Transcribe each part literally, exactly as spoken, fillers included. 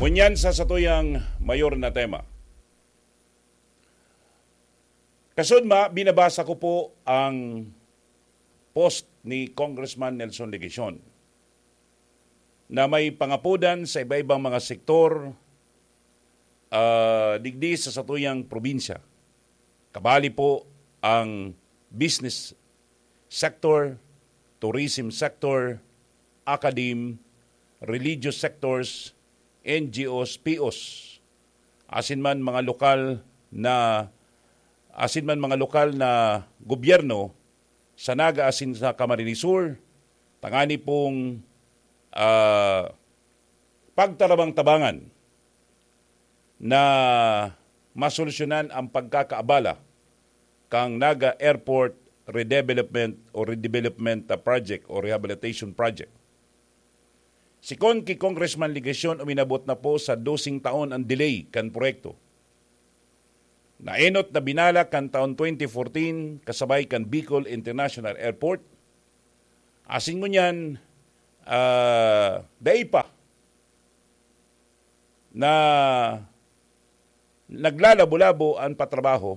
Ngunyan sa satuyang mayor na tema. Kasudma, binabasa ko po ang post ni Congressman Nelson Legacion na may pangapodan sa iba-ibang mga sektor, ah, digdi sa satuyang probinsya. Kabali po ang business sector, tourism sector, academe, religious sectors, N G Os, P Os, asin man mga lokal na, asin man mga lokal na gobyerno sa Naga asin sa Camarines Sur, tangani pong, ah, pagtarabang-tabangan na masolusyonan ang pagkakaabala kan Naga Airport Redevelopment o Redevelopment, ah, Project o Rehabilitation Project. Sikon ki Congressman Legacion, uminabot na po sa doseng taon ang delay kan proyekto. Naenot na binala kan taon twenty fourteen kasabay kan Bicol International Airport. Asin ngunyan, ah, dai pa na naglalabo-labo an patrabaho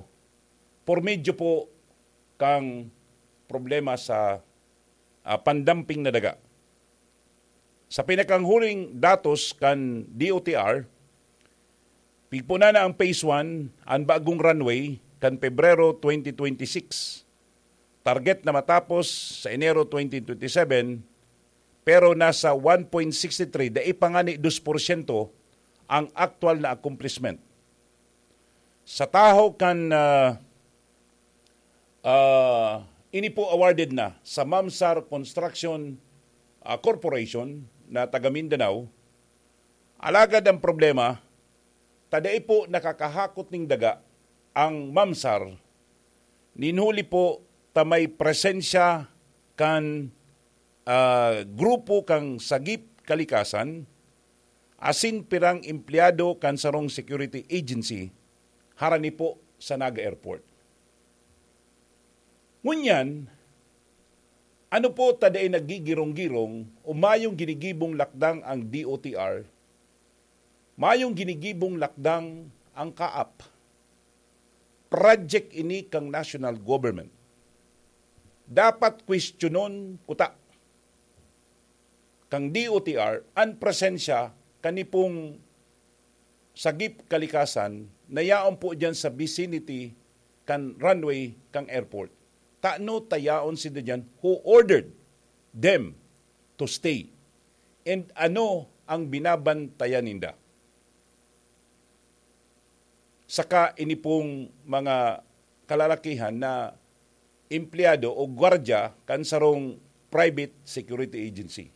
por medyo po kan problema sa, ah, pandamping na daga. Sa pinakanghuling datos kan D O T R, pigpuna na ang phase one, an bagong runway, kan Pebrero twenty twenty-six. Target na matapos sa Enero twenty twenty-seven, pero nasa one point six three, dai pa ngani dos porsyento ang aktual na accomplishment. Sa tahaw kan, ah, ah, ini po awarded na sa Mamsar Construction, ah, Corporation na taga Mindanao. Alagad ang problema, ta dai po nakakahakot ning daga ang Mamsar, nin huli po ta may presensya kan, ah, grupo kan Sagip Kalikasan asin pirang empleyado kan sarong security agency harani po sa Naga Airport. Ngunyan, ano po ta dai naggigirong-girong o mayong ginigibong lakdang ang D O T R, mayong ginigibong lakdang ang kaap. Project ini kang national government. Dapat kwestiyonon kuta kang D O T R an presensya kani pong Sagip Kalikasan na yaon po diyan sa vicinity kan runway kang airport. Tano ta yaon sinda diyan who ordered them to stay? And ano ang binabantayan ninda? Saka ini pong mga kalalakihan na empleyado o gwardya kan sarong private security agency.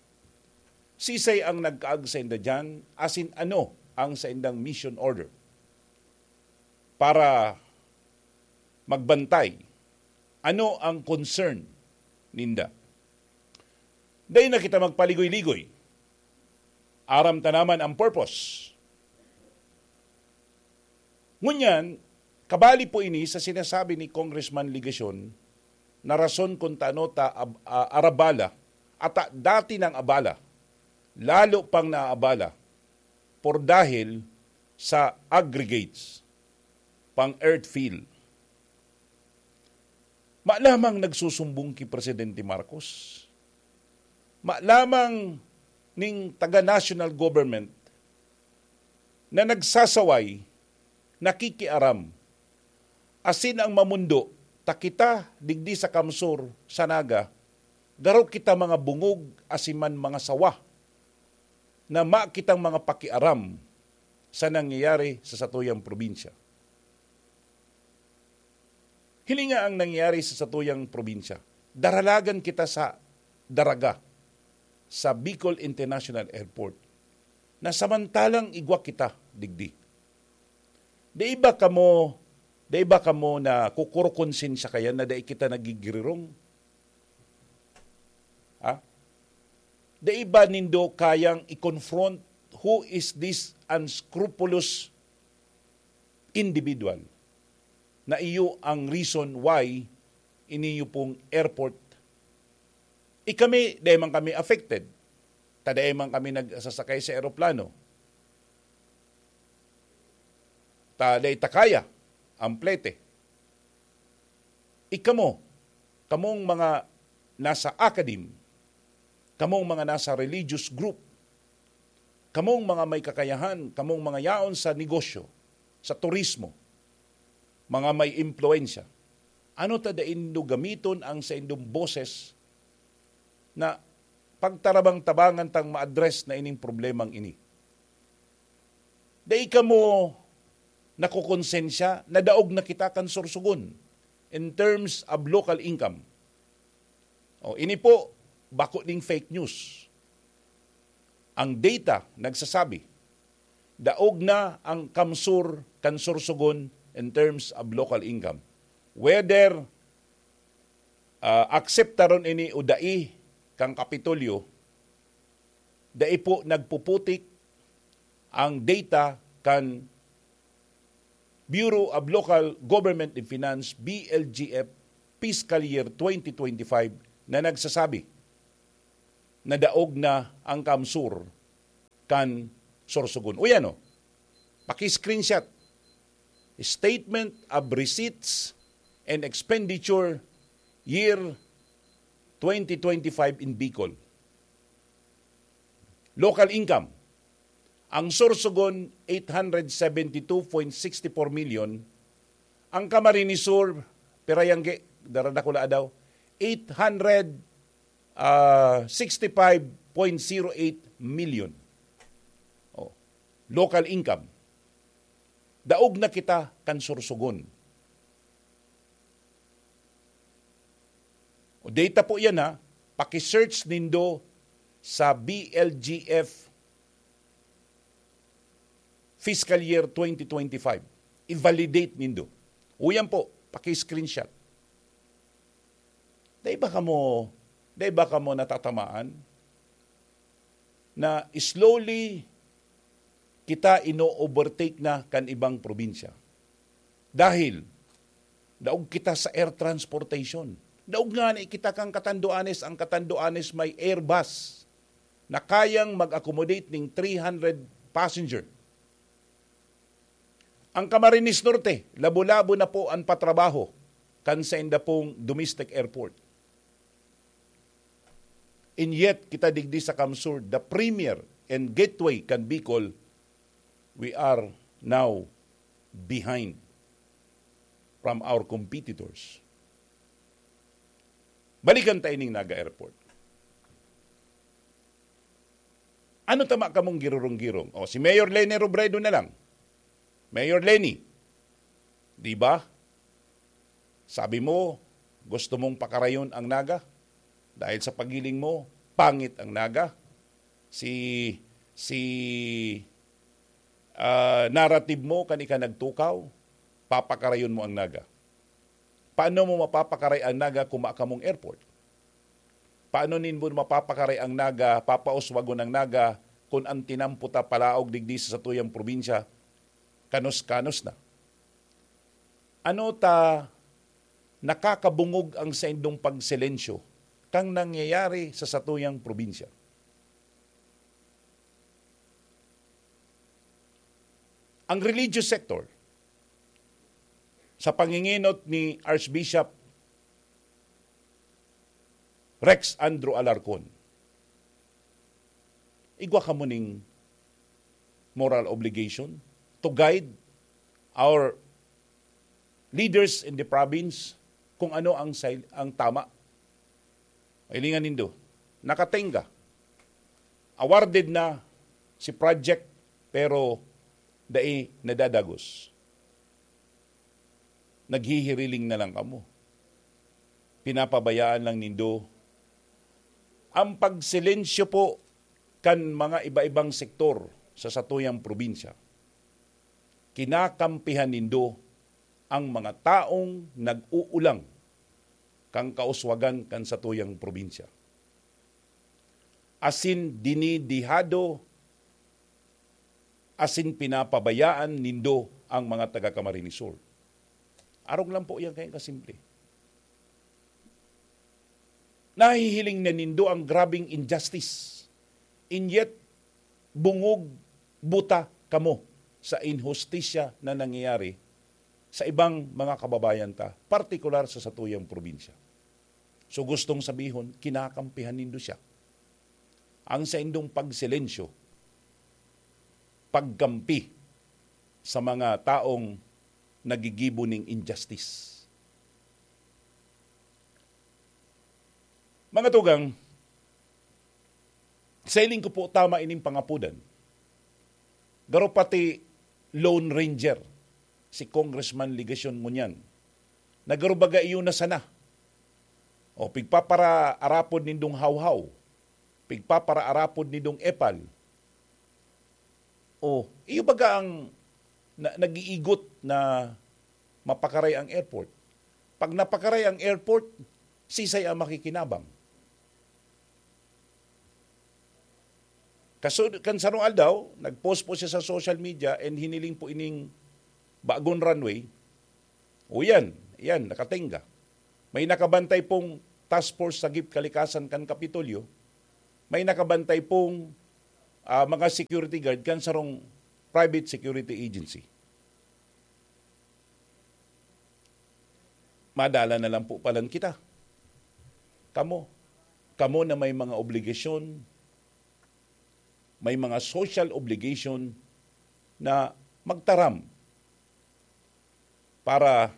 Sisay ang nagkaag sainda diyan, asin ano ang saindang mission order para magbantay? Ano ang concern ninda? Dai na kita magpaligoy-ligoy. Aram ta naman ang purpose. Ngunyan, kabali po ini sa sinasabi ni Congressman Legacion na rason kun tano ta ab-, a-, arabala, ata dati nang abala, lalo pang naaabala, por dahil sa aggregates, pang earth fill. Malamang nagsusumbong ki Presidente Marcos. Malamang ning taga national government na nagsasaway, nakikiaram, asin ang mamundo, ta kita digdi sa Kamsur, sa Naga, garo kita mga bungog asin man mga sawa na ma kitang mga pakiaram sa nangyayari sa satuyang probinsya. Hilinga ang nangyayari sa satuyang probinsya. Daralagan kita sa daraga, sa Bicol International Airport, na samantalang igwa kita digdi. Di ba kamo, di ba kamo na kukurukonsensya kaya na dai kita nagigirirong? Ha? Di ba nindo kayang i-confront who is this unscrupulous individual na iyo ang reason why iniyo pong airport? Ikami, dai man kami affected. Ta dai man kami nagsasakay sa eroplano. ta dai ta kaya ang plete. Ikamo, kamong mga nasa academe, kamong mga nasa religious group, kamong mga may kakayahan, kamong mga yaon sa negosyo, sa turismo, mga may impluwensya, ano ta dai nindo gamiton ang saindong boses na pagtarabang-tabangan tang ma-address na ining problemang ini? Dai kamo nakokonsensya na daog na kita kan sorsogon in terms of local income? O, ini po, bako ning fake news. Ang data nagsasabi, daog na ang CamSur kan sorsogon in terms of local income. Whether, ah, akseptaron ini o dai kang Kapitolyo, dai po nagpuputik ang data kan Bureau of Local Government and Finance, B L G F, fiscal year twenty twenty-five na nagsasabi na daog na ang CamSur kan sorsogon. Uy, ano? Paki-screenshot. Statement of Receipts and Expenditure Year twenty twenty-five in Bicol. Local income. Ang sorsogon, eight hundred seventy-two point sixty-four million. Ang Camarines Sur, pira yang gi-, daradakula daw, eight hundred, ah, sixty-five point zero eight million. Oh, local income. Daog na kita kan sorsogon. O, data po yan, ha. Paki-search nindo sa B L G F fiscal year twenty twenty-five. I-validate nindo. O, yan po, paki-screenshot. Dai ba kamo, dai ba kamo natatamaan na slowly kita ino-overtake na kan ibang probinsya? Dahil daog kita sa air transportation. Daog ngani kita kan Catanduanes. Ang Catanduanes may Airbus na kayang mag-accommodate ning three hundred passenger. Ang Camarines Norte, labo-labo na po an patrabaho kan sainda pong domestic airport. And yet, kita digdi sa CamSur, the premier and gateway kan Bicol, we are now behind from our competitors. Balikan ta ining Naga Airport. Ano tama kamong girurong-girong? O, si Mayor Leni Robredo na lang. Mayor Leni, di ba? Sabi mo, gusto mong pakarayon ang Naga. Dahil sa pagiling mo, pangit ang Naga. Si, si, ah, narrative mo, kan ika nagtukaw, papakarayon mo ang Naga. Paano mo mapapakaray ang Naga kung makamong airport? Paano ninbo mapapakaray ang Naga, papauswagon ang Naga, kun an tinampo ta palaog digdi sa satuyang probinsya, kanos-kanos na? Ano ta nakakabungog ang saindong pagsilensyo kang nangyayari sa satuyang probinsya? Ang religious sector, sa pangingenot ni Archbishop Rex Andrew Alarcon, igwa kamo ning moral obligation to guide our leaders in the province kung ano ang sil-, ang tama. Hilingan nindo, nakatenga, awarded na si project, pero dai nadadagos. Naghihiriling na lang kamo. Pinapabayaan lang nindo. Ang pagsilensyo po kan mga iba-ibang sektor sa satuyang probinsya, kinakampihan nindo ang mga taong nag-uulang kan kauswagan kan satuyang probinsya. Asin dinidihado, asin pinapabayaan nindo ang mga taga Camarines Sur. Arog lang po yan kayong kasimple. Nahihiling na nindo ang grabing injustice. And yet, bungog, buta kamo sa inhustisya na nangyayari sa ibang mga kababayan ta, partikular sa satuyang probinsya. So, gustong sabihon, kinakampihan nindo siya. Ang saindong pagsilensyo, pagkampi sa mga taong nagigibo ning injustice. Mga tugang, sa hiling ko po, tama ining pangapodan. Garo pati Lone Ranger, si Congressman Legacion ngunyan, na garo baga iyo na sana. O, pigpaparaarapod nindong hawhaw, pigpaparaarapod nindong epal. O, iyo baga ang na, nag-iigot na mapakaray ang airport. Pag napakaray ang airport, sisay ang makikinabang. Kaso, kan sarong aldaw, nag-post po siya sa social media and hiniling po ining bagong runway. O yan, yan, nakatenga. May nakabantay pong task force sa Jeep Kalikasan kan Kapitolyo. May nakabantay pong, ah, mga security guard kan sarong private security agency. Madala na lang po palan kita. Kamo, kamo na may mga obligasyon, may mga social obligation na magtaram para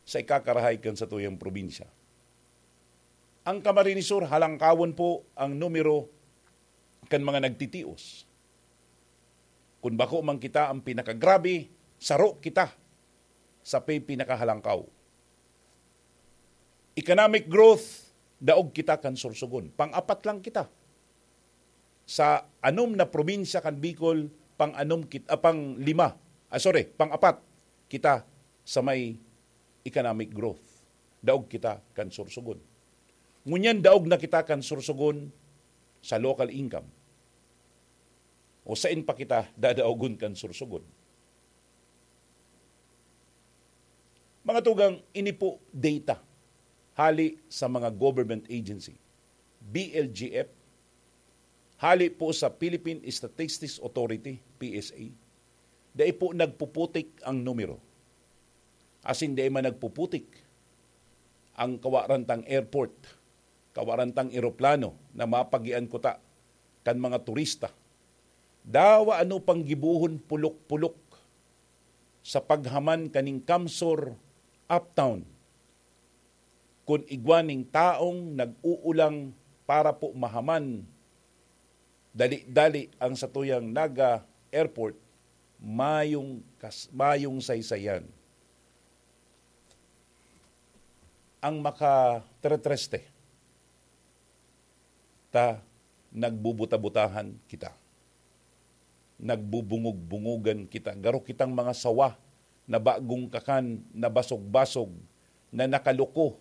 sa ikakarahay kan satuyang probinsya. Ang Camarines Sur, halangkawon po ang numero kan mga nagtitios. Kun bako man kita ang pinakagrabe, saro kita sa pi-, pinakahalangkaw. Economic growth, daog kita kan Sorsogon. Pang-apat lang kita. Sa anom na probinsya kan Bicol, pang-anom kit-, ah, pang-lima, ah, sorry, pang-apat kita sa may economic growth. Daog kita kan Sorsogon. Ngunyan daog na kita kan Sorsogon sa local income. O sain pa kita dadaogon kan Sorsogon? Mga tugang, ini po data hali sa mga government agency, B L G F, hali po sa Philippine Statistics Authority, P S A. Dai po nagpuputik ang numero. Asin dai man nagpuputik ang kawaran tang airport, kawaran tang eroplano na mapagian kuta kan mga turista. Dawa ano pang gibohon pulok-pulok sa paghaman kaning CamSur Uptown. Kun igwa ning taong nag-uulang para po mahaman dali-dali ang satuyang Naga Airport, mayong kas-, mayong saysayan. Ang makateretreste, ta nagbubuta-butahan kita. Nagbubungog-bungogan kita. Garo kitang mga sawa na bagong kakan, na basog-basog, na nakaluko.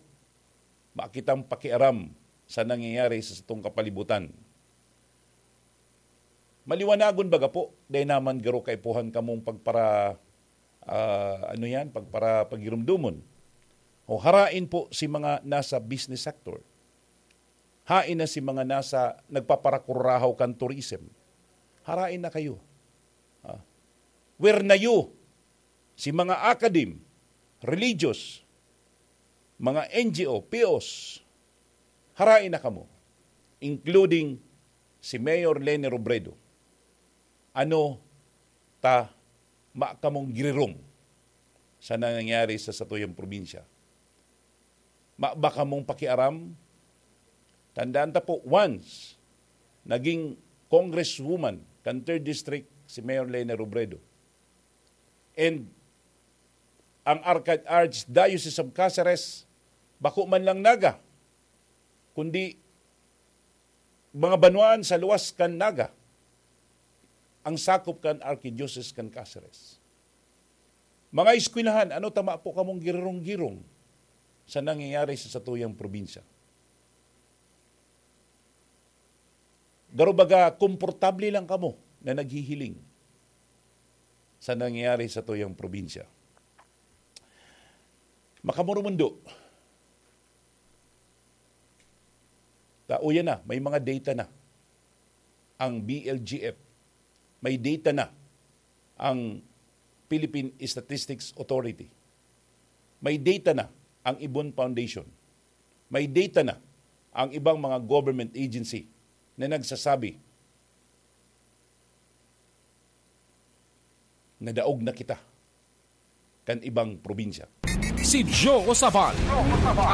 Makitang pakiaram sa nangyayari sa satong kapalibutan. Maliwanagon baga po, dai naman garo kaipuhan kamong pagpara-, ah, ano yan, pagpara-, pagirumdomon. O harain po si mga nasa business sector. Hain na si mga nasa nagpaparakurahaw kan tourism. Harain na kayo. Ah. Where na you? Si mga academe, religious, mga N G O, P Os, harain na kamo, including si Mayor Leni Robredo. Ano ta ma-, kamong girirong sa nangyayari sa satuyang probinsya? Ma-, ba kamong pakiaram? Tandaan ta po, once naging congresswoman kan third District si Mayor Leni Robredo, and ang Arca-, Archdiocese of Caceres, bako man lang Naga, kundi mga banwaan sa luwas kan Naga, ang sakop kan Archdiocese kan Caceres. Mga eskwelahan, ano ta ma-, po kamong girong-girong sa nangyayari sa satuyang probinsya? Garo baga, komportable lang kamo na naghihiling sa nangyayari sa tuyang probinsya. Makamurumundo. Ta, uya na, may mga data na ang B L G F. May data na ang Philippine Statistics Authority. May data na ang Ibon Foundation. May data na ang ibang mga government agency na nagsasabi na daog na kita kan ibang probinsya. Si Joe Sabal,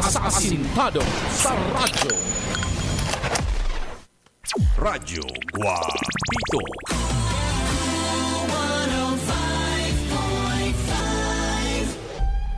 asasintado sa radyo. Radyo Guapito.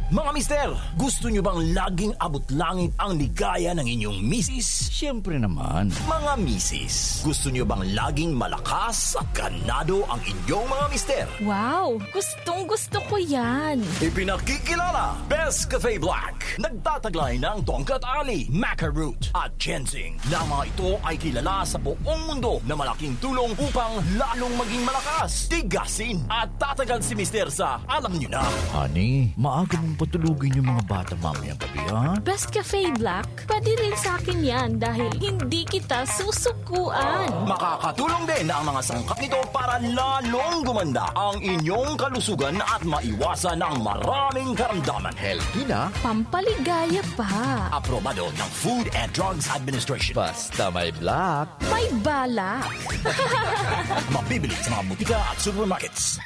Mga mister, gusto nyo bang laging abot langit ang ligaya ng inyong misis? Siyempre naman. Mga misis, gusto nyo bang laging malakas at ganado ang inyong mga mister? Wow! Gustong gusto ko yan! Ipinakikilala, Best Cafe Black. Nagtataglay ng tongkat ali, maca root, at ginseng, na mga ito ay kilala sa buong mundo na malaking tulong upang lalong maging malakas, tigasin, at tatagal si Mister sa alam nyo na. Honey, maaga mong patulugin yung mga bata mamayang gabi, ha? Best Cafe Black, pwede rin sa akin yan dahil hindi kita susukuan. Makakatulong din ang mga sangkap nito para lalong gumanda ang inyong kalusugan at maiwasan ang maraming karamdaman. Healthy na. Pampaligaya pa. Aprobado ng Food and Drugs Administration. Basta may black. May balak. Mabibili sa mga butika at supermarkets.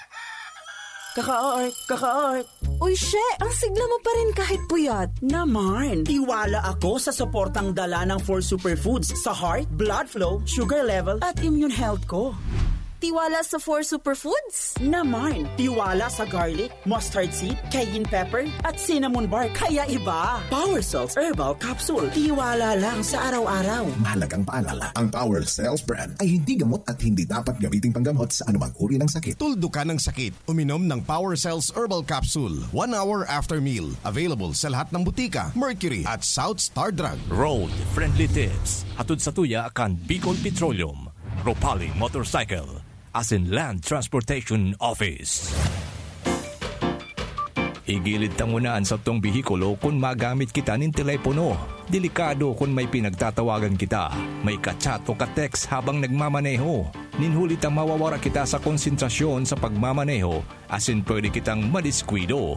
Kaka-art, kaka-art. Uy, she, ang sigla mo pa rin kahit puyat. Naman, tiwala ako sa suportang dala ng Four Superfoods sa heart, blood flow, sugar level, at immune health ko. Tiwala sa Four Superfoods? Naman, tiwala sa garlic, mustard seed, cayenne pepper, at cinnamon bark. Kaya iba. Power Cells Herbal Capsule. Tiwala lang sa araw-araw. Mahalagang paalala, ang Power Cells brand ay hindi gamot at hindi dapat gamiting panggamot sa anumang uri ng sakit. Tuldukan ang sakit. Uminom ng Power Cells Herbal Capsule one hour after meal. Available sa lahat ng butika, Mercury at South Star Drug. Road Friendly Tips. Hatod sa tuya kan Bicol Petroleum, Ropali Motorcycle, asin Land Transportation Office. Igilid ta nguna an satong behikulo kun magamit kita nin telepono. Delikado kun may pinagtatawagan kita, may ka-chat o ka-text habang nagmamaneho. Nin huli ta mawawara kita sa konsentrasyon sa pagmamaneho asin pwede kitang madiskuido.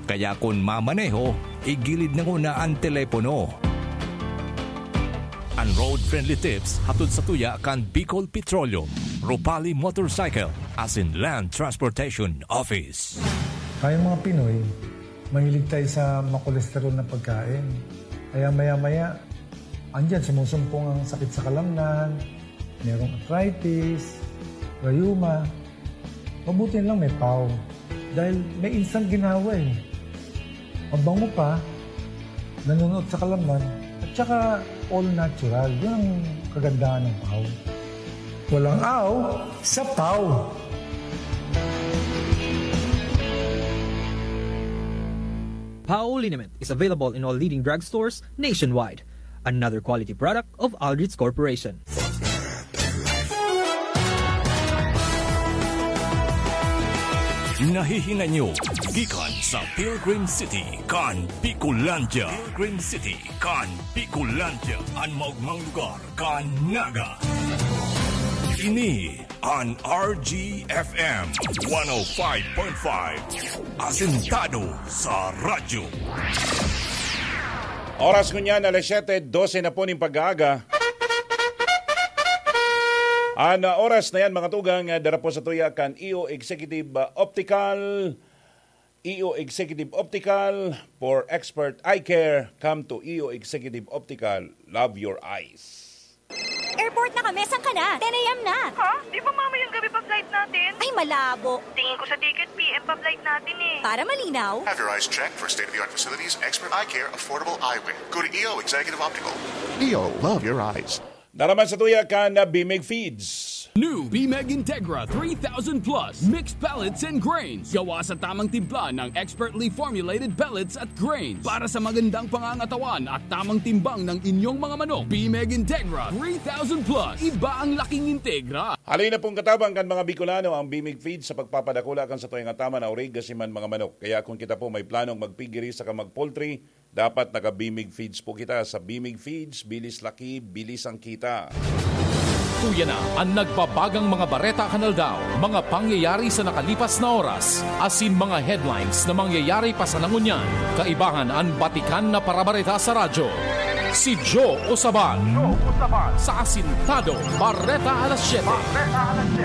Kaya kun mamaneho, igilid na nguna an telepono. An Road Friendly Tips hatod sa tuya kan Bicol Petroleum, Ropali Motorcycle, asin Land Transportation Office. Tayong mga Pinoy, mahilig tayo sa makolesterol na pagkain. Kaya maya-maya, andyan, sumusumpong ang sakit sa kalamnan, merong arthritis, rayuma. Mabuti lang may pau. Dahil may instant ginhawa eh. Mabango pa, nanunuot sa kalamnan, at saka all natural. Yun ang kagandahan ng pau. Walang aw sa pau. Pau liniment is available in all leading drugstores nationwide. Another quality product of Aldrich Corporation. Nahihinay nyo gikan sa Pilgrim City kan Bicolandia. Pilgrim City kan Bicolandia, an maogmang lugar kan Naga. Ini an R G F M one oh five point five, asentado sa radyo. Oras ngunyan, alas siyete dose na po ning pag-aaga. An, ah, oras na yan, mga tugang, ah, dara po sa tuya kan E O Executive, ah, Optical. E O Executive Optical, for expert eye care, come to E O Executive Optical. Love your eyes. Airport na kami, saan ka na? Ten a m na. Ha? Di ba mamayang gabi pa flight natin? Ay, malabo. Tingin ko sa ticket, P M pa flight natin eh. Para malinaw. Have your eyes checked for state-of-the-art facilities, expert eye care, affordable eyewear. Go to E O Executive Optical. E O, love your eyes. Dara man sa tuya kan, ah, Bimig Feeds. New Bimeg Integra three thousand Plus Mixed Pellets and Grains. Gawa sa tamang timpla ng expertly formulated pellets at grains para sa magandang pangangatawan at tamang timbang ng inyong mga manok. Bimeg Integra three thousand Plus. Iba ang laking Integra. Halin na pong katabang kan mga Bicolano ang Bimig Feeds sa pagpapadakula kan satuyang ataman na orig asin man mga manok. Kaya kung kita po may planong magpigiri saka mag-poultry, dapat naka-Bimig Feeds po kita. Sa Bimig Feeds, bilis laki, bilis ang kita. Uya na an nagbabagang mga bareta kan aldaw, mga pangyayari sa nakalipas na oras, asin mga headlines na mangyayari pa sana ngunyan. Kaibahan an batikan na parabareta sa radyo. Si Joe Osaban. Sa Asintado, Bareta Alas Siyete.